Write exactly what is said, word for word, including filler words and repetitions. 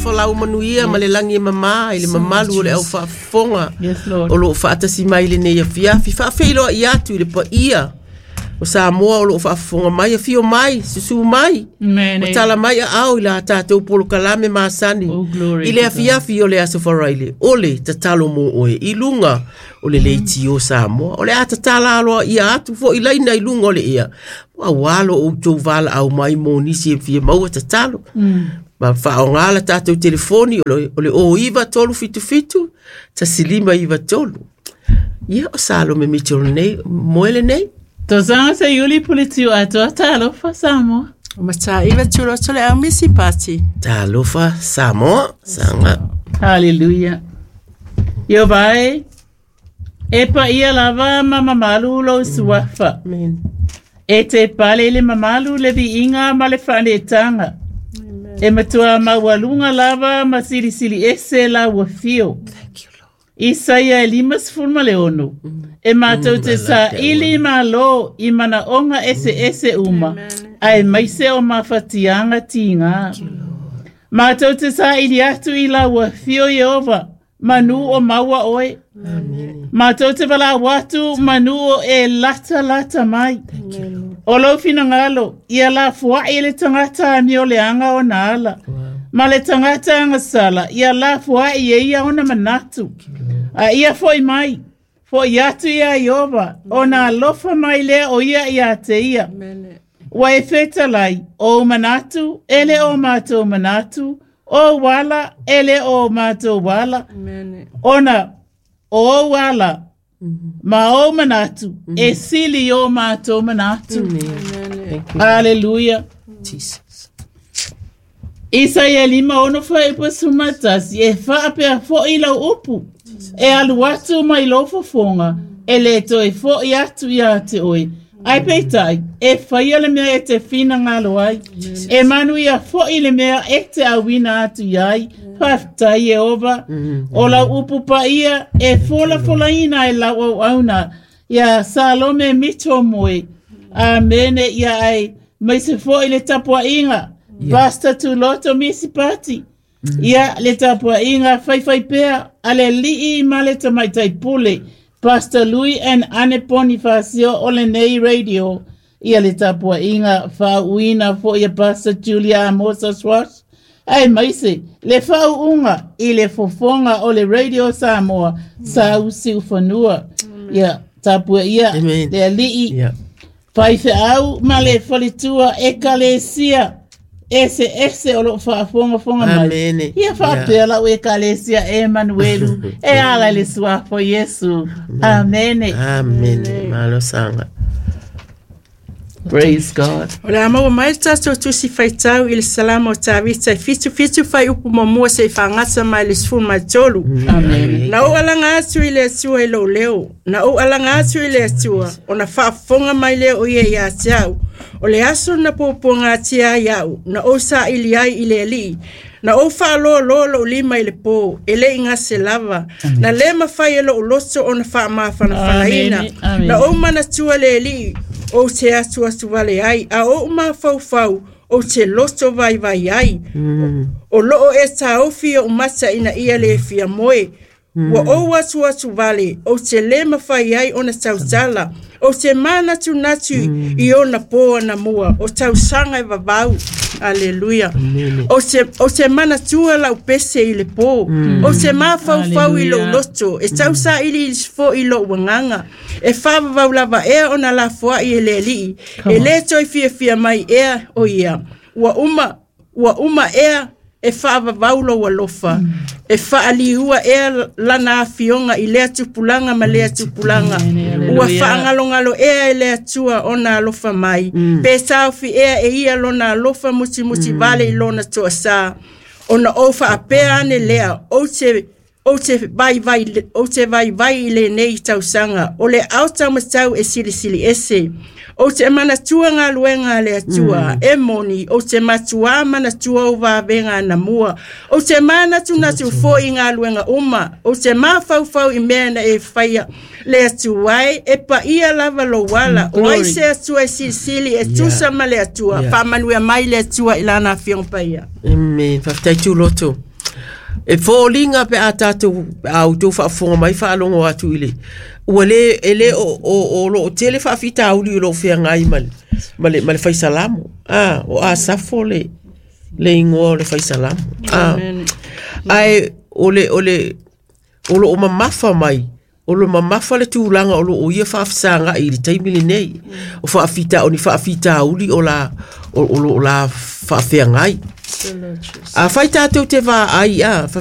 Folau manuia ma le lagi e mamā i le mamalu o le au faafofoga Yes, Lord. o loo faatasi mai lenei afiafi. Faafeiloai atu i le paia o Samoa o loo faafofoga mai, afio mai, susu mai, Amen. o tala mai aao i la tatou polokalame masani Oh, glory i le to afiafi o le Aso Faraile o le tatalo mo oe i luga o le leitio Samoa. O le a tatala aloa ia atu foi laina i luga o le ea auā lo outou valaau mai mo nisi e fia maua tatalo. Ma faaaogā la tatou telefoni o le, o le o iva tolu fitu fitu tasi lima iva tolu. Ia o Salome Mitchell nei moe lenei. Tausaga Seiuli Puleti atoa talofa Samoa. O Mataiva Tuloto le au misi pati. Talofa Samoa saga. Hallelujah. Ieova e, e paia lava ma mamalu lou suafa. Amen. E te pale i le mamalu le viiga ma le faaneetaga. E matua maualuga lava ma silisili ese lau afio. Thank you, Lord. Isaia e lima sefulu ma le ono. E matou te saili malo i manaoga eseese uma. Aemaise o mafatiaga tigā. Matou te saili atu i lau afio Ieova, manu o maua oe. Matou te valaau atu manu o e latalata mai. O lou finagalo, ia lafoai le tagata amioleaga ona ala. Ma le tagata agasala, ia lafoai e ia ona manatu. A ia fo'i mai, fo'i atu ia Ieova, ona alofa mai lea o ia ia te ia. Ua e fetalai, o manatu, e le o matou manatu, o ala, e le o matou ala. Ona, o ou ala, ma o manatu, e sili o matou manatu. Thank you, Hallelujah. Jesus. Isaia lima ono fuaiupu sefulumatasi e faapea fo'i lau upu. E alu atu mai lou fofoga, e le toe fo'i atu ia te oe. Ae peitai, e faia le mea e te finagalo ai. E manuia fo'i le mea e te auina atu i ai. Faafetai Ieova. O lau upu paia e folafolaina e lau auauna. Ia Salome Mito Moe. Amene ia aemaise fo'i le tapuaiga. Pastor Tuloto Misi Pati. Ia le tapuaiga faifaipea a le alii ma le tamaitai pule. Pastor Louis and Anne Bonifacio o lenei radio. Ia le tapuaiga faauuina fo'i a Pastor Julia Amosa Swash. Aemaise, le faauuga i le fofoga o le Radio Samoa, sa siufanua. Ia, tapuaia Amen. le alii Yeah. faifeau ma le faletua ekalesia ese ese o loo faafogafoga mai. Amene. Ia faapea lau ekalesia e manuelu e ala i le suafa o Iesu. Amene. Amen. Malo saga. Praise God. O le a maua mai le tatou tusi faitau i le Salamo o Tavita e fitu fitu fuaiupu muamua seia fagata mai le sefulu ma tolu. Amene. Na ou alaga atu i le Atua i lou leo. Na ou alaga atu i le Atua, ona faafofoga mai lea o ia ia te au. O le aso na puapuagatia ai au, na ou saili ai i le Alii. Na ou faaloaloa lou lima i le po, e le i gase lava. Na le mafai e lou loto ona faamafanafanaina. Amene, amene. Na ou manatua le Alii, ou te atuatu vale ai, a ou mafaufau, ou te loto vaivai ai. O loo e taofi ou mata ina ia le fia moe. Ua ou atuatu vale, ou te le mafai ai ona tautala. Ou te manatunatu i ona po anamua, o tausaga e vavau. Aleluia. Ou te, ou te manatua lau pese i le po. Ou te mafaufau i lou Hallelujah. loto, e tausaili fo'i lou agaga. E faavavau lava ea ona lafoai e le Alii. E le toe fiafia mai ea o ia. Ua uma, ua uma ea e faavavau lou alofa. E faaliua ea lana afioga i lea tupulaga ma lea tupulaga. Ua Hallelujah. faagalogalo ea e le Atua ona alofa mai. Pe taofi ea e ia lona alofa mutimuti vale i lona toasā. Ona ou faapea ane lea, ou te ou te vaivai ou te vaivai i lenei tausaga o le ao taumatau e silisili ese. Ou te manatua galuega a le Atua e moni, ou te matuā manatua ou vavega anamua. Ou te manatunatu fo'i i galuega uma, ou te mafaufau i mea na e faia. Le Atua e, e paia lava lou ala. O ai Glory. se Atua e silisili e tusa ma le Atua. Yeah. Faamanuia mai le Atua i lana afioga paia. Amen. Faafetai Tuloto. E foliga pe a tatou a outou faafofoga mai faalogo atu i le ua lē e lē o o o loo tele faafitauli o loo feagai ma le ma le ma le faisalamo a o Asafo le le igoa o le faisalamo a ae o le o le o loo mamafa mai o lo mamafa le tulaga o loo ia faafesagaʻi i le taimi lenei o faafita o ni faafitauli o la o, o loo la faafeagai. A fai tatou te vaai a